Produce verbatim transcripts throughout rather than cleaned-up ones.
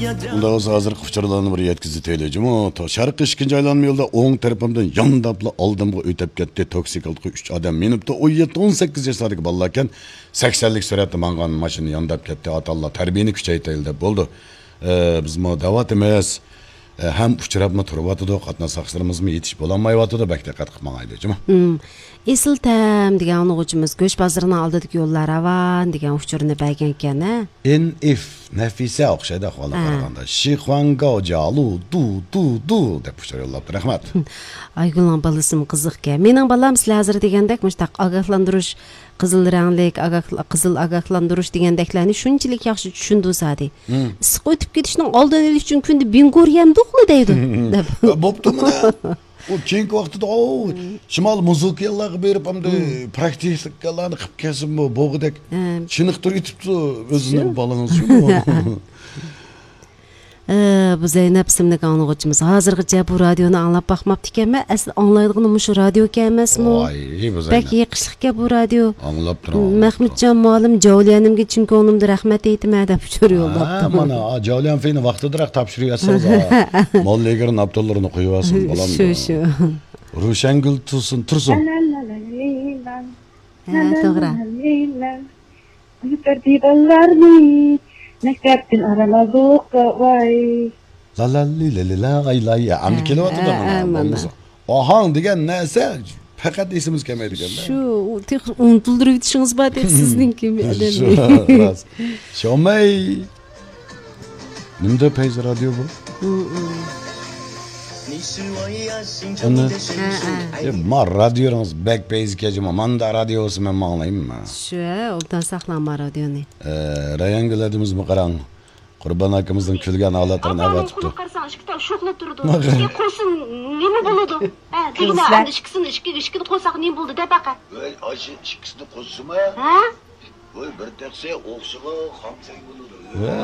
ئۇنداق بولسا، ھازىرقى ئۇچۇرلارنى بىر يەتكۈزۈۋېتەيلى، جۇمۇ. تو-، شەرقىي ئىككىنچى ئايلانما يولىدا ئوڭ تەرىپىمدىن يانداپلا ئالدىمغا ئۆتۈپ كەتتى. توكسىكلىقى ئۈچ ئادەم مىنىپتۇ. ئون يەتتە، ئون سەككىز ياشلاردىكى بالىلاركەن. سەكسەنلىك سۈرئەتتە ماڭغان ماشىنا يانداپ كەتتى. ئاتاللا تەربىيەنى كۈچەيتەيلى دەپ بولدى. ئە، بىزمۇ دەۋاتىمىز. ئە، ھەم ئۇچراپمۇ تۇرۇۋاتىدۇ. قاتناش ساقچىلىرىمىزمۇ يېتىشىپ بولالمايۋاتىدۇ. بەك دىققەت قىلىپ ماڭايلى، جۇمۇ. مم. ئېسىل تەم دېگەن ئاڭلىغۇچىمىز گۆش بازىرىنىڭ ئالدىدىكى يوللار راۋان دېگەن ئۇچۇرنى بەرگەنكەن، ھە؟ ئېن ئىف نەفىسە ئوخشايدۇ ئەھۋالغا ھە. قارىغاندا. شىخۇاڭگاۋ جالۇ دۇ دۇ دۇ دەپ ئۇچۇر يوللاپتۇ. رەھمەت. ئايگۈلنىڭ بالىسىمۇ قىزىقكەن. مېنىڭ بالام سىلەر ھازىر دېگەندەك مۇشۇنداق ئاگاھلاندۇرۇش، قىزىل رەڭلىك، ئاگاھ-، قىزىل ئاگاھلاندۇرۇش دېگەندەكلەرنى شۇنچىلىك ياخشى چۈشىندۈرسادى. مم. ئىسسىق ئۆتۈپ كېتىشنىڭ ئالدىنى ئېلىش ئۈچۈن كۈندە بىنگور يەمدۇقلا دەيدۇ، دەپ. بوپتۇ مانا. ئۇ كېيىنكى ۋاقتىدا، ئو، شىمال مۇزۇكىيانلارغا بېرىپ، ئەمدى پراكتىكىلارنى قىلىپ كەلسىمۇ بوغۇدەك ھە. چېنىقتۇرۇپ يېتىپتۇ ئۆزىنىڭ شۇ. بالىڭىز شۇ. ئە، بۇ زەينەپ ئىسىملىك ئاڭلىغۇچىمىز، ھازىرغىچە بۇ رادىيونى ئاڭلاپ باقماپتىكەنمەن، ئەسلى ئاڭلايدىغىنى مۇشۇ رادىيوكەن ئەمەسمۇ؟ ۋاي، بۇ بەك زەينەپ. يېقىشلىقكەن بۇ رادىيو. ئاڭلاپ تۇرۇڭ، ئاڭلاپ تۇرۇڭ. مەخمۇتجان مۇئەللىم، جاۋلىيەنىمگە چىن كۆڭلۈمدىن رەھمەت ئېيتىمەن دەپ ئۇچۇر ھە، يوللاپتۇ. مانا، ئا، جاۋلىيەن فېينى ۋاقتىدىراق تاپشۇرۇۋەتسىڭىز، ھە. موللا ئېگىر ناپتوللىرىنى قويۇۋالسىڭىز، بالام. شۇ، شۇ. روشەنگۈل تۇرسۇن، تۇرسۇن. ھە، توغرا. كۆتۈردى بالىلارنى مەكتەپتىن ئاران ئازوققا، ۋاي. لا لا لى لە لى لا ئاي لاي. ئەمدى ھە، كېلىۋاتىدۇ ھە، مانا، ھە، مانا. بولمىسا. ئاھاڭ دېگەن نەرسە پەقەت ئېسىمىزگە كەلمەيدىكەن-دە. شۇ، تېخى ئۇنتۇلدۇرۇۋېتىشىڭىز بار تېخى سىزنىڭكى. شۇ، راست. شومەي. نېمىدە پەيزى رادىيو بۇ؟ ھە، ھە. ئەنە. ھە، ھە. ئە، ما رادىيونىڭىز بەك پەيزى كەجىما. ماندا رادىيو بولسا مەن ماڭلايمەن. شۇ، ھە، ئوبدان ساقلاڭ ما رادىيونى. ئە، رەيەنگۈلەردىمىزمۇ قاراڭ. قۇربان ئاكىمىزنىڭ كۈلگەن ھالەتلىرىنى ئاپام ئەۋەتىپتۇ. قۇلۇپ قارىساڭ، ئىككى تال شوخلا تۇرىدۇ. ئە، قوشسا نېمە بولىدۇ؟ ھە، دېگىنە، ئەمدى ئىككىسىنى، ئىككى، ئىككىنى قوشساق نېمە بولدى دەپ باقە. ۋەي، ئاشۇ ئىككىسىنى قوشسىما؟ ھە؟ ۋاي، بىر تەخسە ئوخشىغان خامسەك بولىدۇ. ۋە.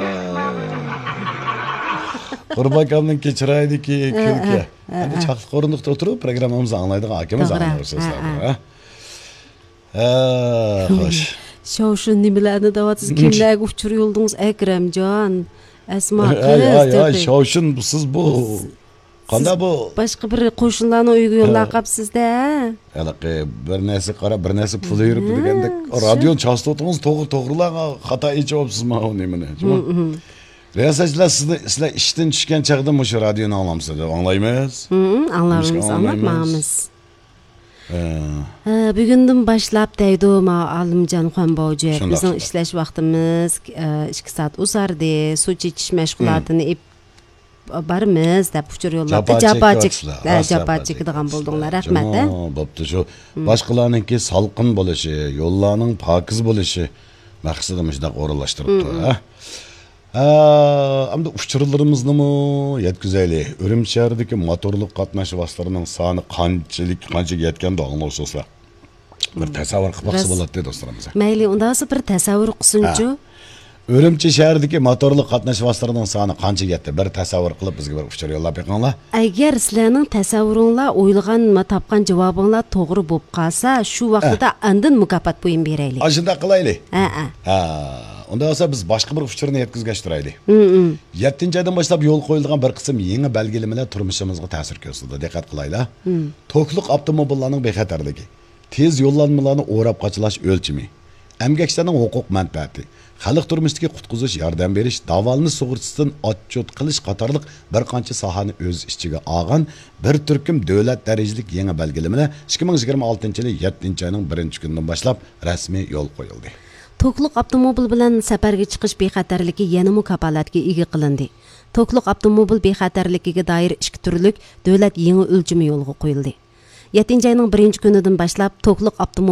قۇربان ئاكامنىڭكى چىرايىدىكى ھە، كۈلكە. ھە، ھە، ئەمدى ھە. چاقلىق ئورۇندۇقتا ئولتۇرۇپ، پروگراممىمىزنى ئاڭلايدىغان ئاكىمىز توغرا. ئاڭلاۋاتىسىز ھە، ھە. ھە؟ ھە، خوش. شاۋشۇن نېمىلەرنى دەۋاتىسىز؟ كىملەرگە ئۇچۇر يوللىدىڭىز، ئەكرەمجان؟ ئەسما ھەي، قىز ھەي، ھەي، تېخى. شاۋشۇن، سىز بۇ قانداق بۇ؟ باشقا بىر قوشنىلارنىڭ ئۆيىگە يوللاپ ھە. قاپسىز-دە. ھېلىقى بىر نەرسە قاراپ، بىر نەرسە پۇل يۈرۈپتۇ ھە، دېگەندەك، شۇ. رادىيونى چاستوتىڭىز توغرا، توغرىلاڭ، خاتا ئېچىۋاپسىز ماۋۇ نېمىنى، جۇمۇ. ھە، ھە. رىياسەتچىلەر، سىزنى، سىلەر ئىشتىن چۈشكەن چاغدا مۇشۇ رادىيونى ئاڭلامسىز دەپ ئاڭلايمىز. ھە، ھە، ئاڭلايمىز، نېمىشقا ئاڭلاپ ئاڭلىمايمىز؟ ماڭىمىز. ھە. ھە، بۈگۈندىن باشلاپ دەيدۇ، ما، ئالىمجان خۇەنباۋجى. شۇنداق، بىزنىڭ شۇنداق. ئىشلەش ۋاقتىمىز، ئە، ئىككى سائەت ئۇزاردى. سۇ چېچىش مەشغۇلاتىنى ئېپ بارىمىز دەپ ئۇچۇر يوللاپتۇ. جاپا جاپا چېك-، چېكىۋاتىسىلەر. ھە، راست جاپا جاپا چېكىدىغان چېكىۋاتىسىلەر. بولدۇڭلار. رەھمەت، ھە. جۇمۇ، بوپتۇ شۇ. مم. باشقىلارنىڭكى سالقىن بولۇشى، يوللارنىڭ پاكىز بولۇشى مەقسىتىدە مۇشۇنداق ئورۇنلاشتۇرۇپتۇ، مم. ھە. ھە، ئەمدى ئۇچۇرلىرىمىزنىمۇ يەتكۈزەيلى. ئۈرۈمچى شەھىرىدىكى موتورلۇق قاتناش ۋاسىتىلىرىنىڭ سانى قانچىلىك، قانچىگە يەتكەندۇ ئاڭلىغۇچىلار؟ بىر تەسەۋۋۇر قىلىپ باقسا راست. بولاتتى، دوستلىرىمىز. مەيلى، ئۇنداق بولسا بىر تەسەۋۋۇر قىلسۇنچۇ. ھە. ئۈرۈمچى شەھىرىدىكى موتورلۇق قاتناش ۋاسىتىلىرىنىڭ سانى قانچىگە يەتتى؟ بىر تەسەۋۋۇر قىلىپ، بىزگە بىر ئۇچۇر يوللاپ بېقىڭلار. ئەگەر سىلەرنىڭ تەسەۋۋۇرۇڭلار، ئويلىغان، تاپقان جاۋابىڭلار توغرا بولۇپ قالسا، شۇ ھە. ۋاقتىدا ئاندىن مۇكاپات بۇيۇمى بېرەيلى. ئاشۇنداق قىلايلى. ھە، ھە. ھە. ئۇنداق بولسا، بىز باشقا بىر ئۇچۇرنى يەتكۈزگەچ تۇرايلى. ھە، ھە. يەتتىنچى ئايدىن باشلاپ يولغا قويۇلىدىغان بىر قىسىم يېڭى بەلگىلىمىلەر تۇرمۇشىمىزغا تەسىر كۆرسىتىدۇ. دىققەت قىلايلى. ھە. توكلۇق ئاپتوموبىللارنىڭ بىخەتەرلىكى. تېز يوللانمىلارنى ئوراپ قاچىلاش ئۆلچىمى، ئەمگەكچىلەرنىڭ ھوقۇق مەنپەئەتى، خەلق تۇرمۇشىدىكى قۇتقۇزۇش ياردەم بېرىش، داۋالىنىش سۇغۇرتىسىدىن ئاتچوت قىلىش قاتارلىق بىر قانچە ساھەنى ئۆز ئىچىگە ئالغان بىر تۈركۈم دۆلەت دەرىجىلىك يېڭى بەلگىلىمىلەر ئىككى مىڭ يىگىرمە ئالتىنچى يىلى يەتتىنچى ئاينىڭ بىرىنچى كۈنىدىن باشلاپ رەسمىي يولغا قويۇلدى. توكلۇق ئاپتوموبىل بىلەن سەپەرگە چىقىش بىخەتەرلىكى يەنىمۇ كاپالەتكە ئىگە قىلىندى. توكلۇق ئاپتوموبىل بىخەتەرلىكىگە دائىر ئىككى تۈرلۈك دۆلەت يېڭى ئۆلچىمى يولغا قويۇلدى. يەتتىنچى ئاينىڭ بىرىنچى كۈنىدىن باشلاپ توكلۇق ئاپتوموبىل